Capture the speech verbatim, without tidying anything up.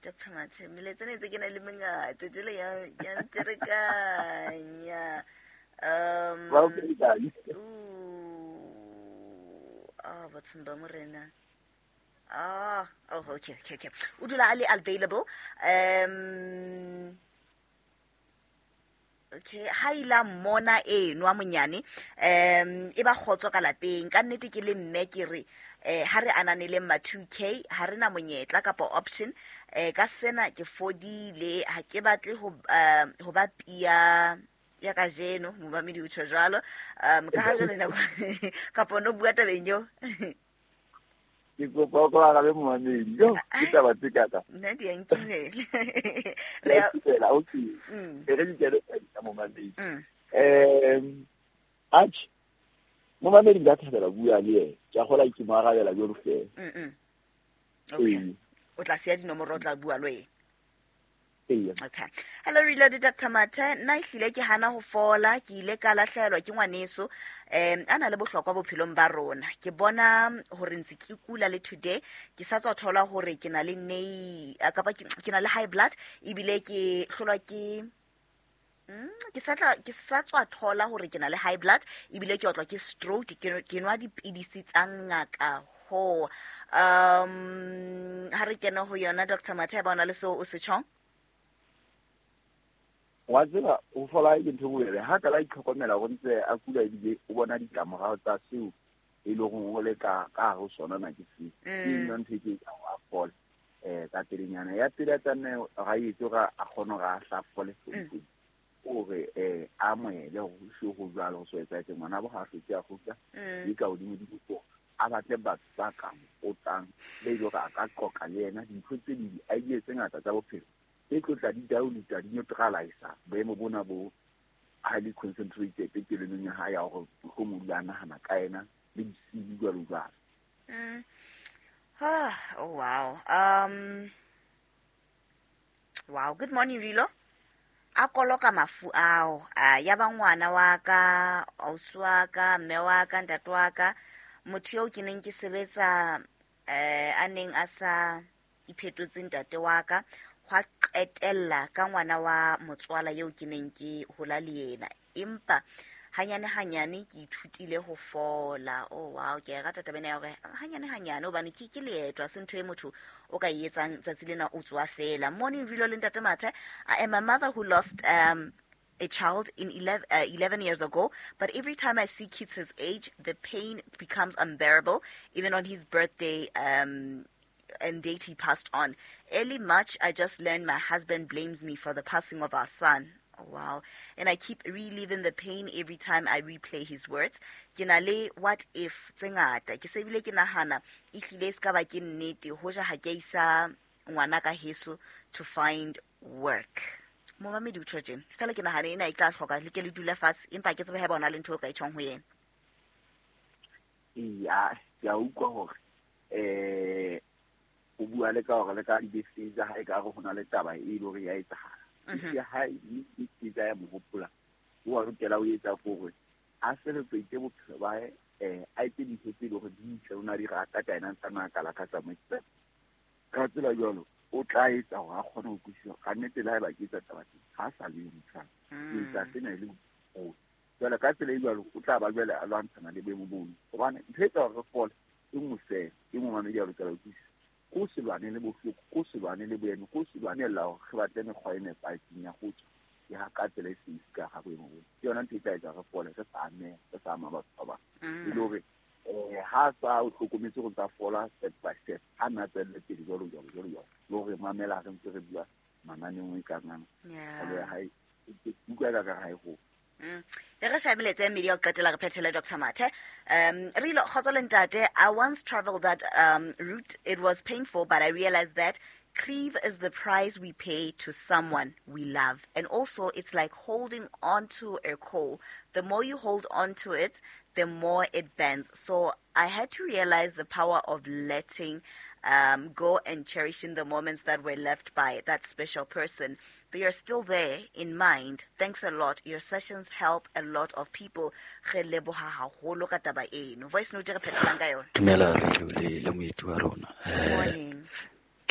Doctor Mathe, melaetsa ena e ntse ke na le mengata jwale ya ya mperekanya. Um Ba o ferekanya. Ooh, ah, bathong ba morena. Ah, oh, okay, okay, okay. O dula a le available. Um okay, ha ila mmona eno a monyane, um e ba kgotso ka lapeng. Ka nnete ke le mme ke re, eh, ha re ananeleng ma two K, ha re na monyetla kapa option. Eh, ka sena ke fodile, ha ke batle ho, eh, ho ba pia ya kajeno, momamedi o tjho jwalo. Um, ka ha jwale nako kapa no bua tabeng eo. Ke kopa o arabe momamedi. Yo, ke taba tse ka ka. Nna di a nkimela. Ke a nkimela, okay. Mm. E re di kene ka momamedi. Mm. Em, atjhe, momamedi nka thabela bua le yena. Ke a kgolwa ke mo arabela jwalo feela. Mm, mm. Okay. Ee. O tla siya dinomoro, o tla bua le wena. Ee. Okay. Hello, Reloaded Doctor Mathe. Nna ehlile ke hana ho fola, ke ile ka lahlehelwa ke ngwaneso. Em, a na le bohlokwa bophelong ba rona. Ke bona hore ntse ke kula le today, ke sa tswa thola hore ke na le nei, a, kapa ke, ke na le high blood, ebile ke hlolwa ke, mm, ke sa tla, ke sa tswa thola hore ke na le high blood, ebile ke otlwa ke stroke, ke, ke nwa dipidisi tsa ngaka ho. Um, ha re kene ho yona, Doctor Mathe, ba ona le seo o se tjhong? Wa tseba, ho fola ke ntho e bobebe. Ha ka la itlhokomela hore ntse a kula ebile o bona ditlamorao tsa seo e leng hore o le ka, ka hare ho sona na ke seo. Mm. Ke yona ntho e ke etsang hore a fole. Eh, ka pelenyana. Ya pele a tlameha hore a etse hore a kgone hore a hla fole Mm. fole. Hore, eh, a amohele hore ho se ho jwalo, ho so etsahetse. Ngwana bo ha a hlotse a kgutla, Mm. le ka hodimo di ko, a batle batho ba ka mo otlang, be e leng hore a ka qoqa le yena dintho tse ding, di-idea tse ngata tsa bophelo. Tse tlo tla di dilute, di neutralize boemo bona bo highly concentrated kelellong ya hae ya hore mohlomong o dula a nahana ka yena le bosiu jwalo jwalo. Mm. Ah, oh, wow. Um, wow. Good morning, Rilo. A koloka mafu ao. Ah, ya ba ngwana wa ka, ausi wa ka, mme wa ka, ntate wa ka, motho eo ke neng ke sebetsa, eh, a neng a sa iphetotse ntate wa ka, hwa qetella ka ngwana wa motswala eo ke neng ke hola le yena. Empa hanyane hanyane ke ithutile ho fola. Oh, wow, ke a e rata taba ena ya hore hanyane hanyane, hobane ke, ke leeto, ha se ntho e motho o ka e etsang tsatsi lena o tsoha fela. Morning, Rilo le Ntate Mathe. I am a mother who lost, um, a child in elev-, uh, eleven years ago, but every time I see kids his age, the pain becomes unbearable, even on his birthday, um, and date he passed on. Early March, I just learned my husband blames me for the passing of our son. Oh, wow. And I keep reliving the pain every time I replay his words. Ke na le what if tse ngata. Ke se bile ke nahana, ehlile e ska ba ke nnete, hoja ha ke isa ngwana ka heso to find work. Momamedi o tjho tjena. Feela ke nahana ena e tla hloka le ke le dule fatshe, empa ke tsebe haeba o na le ntho eo ka e tjhong ho yena. Eya, ke a utlwa hore, eh, o bua le ka hore le ka dibese tsa hae ka hare ho na le taba e leng hore ya etsahala. Mhm. Ya hae, e tsa ya mo hopola. O a lokela ho etsa hore a celebrate bophelo ba hae, eh, a etse dintho tse leng hore di ntle, o na di rata ka yena, ntse a na kala ka tsamaisa. Ka tsela jwalo, o tla etsa hore a kgone ho utlwisisa ka nnete le haeba ke etsa taba tse, ha a sa le motho. Ke etsa Mm. sena e le bophelo. Jwale ka tsela e jwalo, o tla ba jwale a lwantshana le boemo bono. Hobane ntho e etsa hore re fole, e nngwe feela, e nngwe mamedi a lokela ho utlwisisa. Ko se lwane le bohloko, ko se lwane le boemo, ko se lwanela hore re batle mekgwa e nepahetseng ya ho tswa. Ya ka tsela e seng ka ga boemo bo. Ke yona ntho e tla etsa re fole, re sa ameha, re sa ama batho ba bang. Mm. E le hore, eh, ha sa o hlokometse hore tsa fola step by step, ha nna tswelle pele jwalo, jwalo, jwalo, jwalo. Le hore mamela re ntse re bua mananeong e kang ana. Yeah. Palo ya hae, e utlwa ka ka hae ho. Mm. E re shabe melaetsa e mmedi ya ho qetela re phethele Doctor Mathe. Um, re ile kgotso le ntate, I once traveled that, um, route. It was painful, but I realized that grief is the price we pay to someone we love. And also, it's like holding on to a coal. The more you hold on to it, the more it bends. So I had to realize the power of letting, um, go and cherishing the moments that were left by that special person. They are still there in mind. Thanks a lot. Your sessions help a lot of people. Re leboha haholo ka taba eno. Voice note re phethelang ka yona. Dumela, re le, le moeti wa rona. Eh, Morning.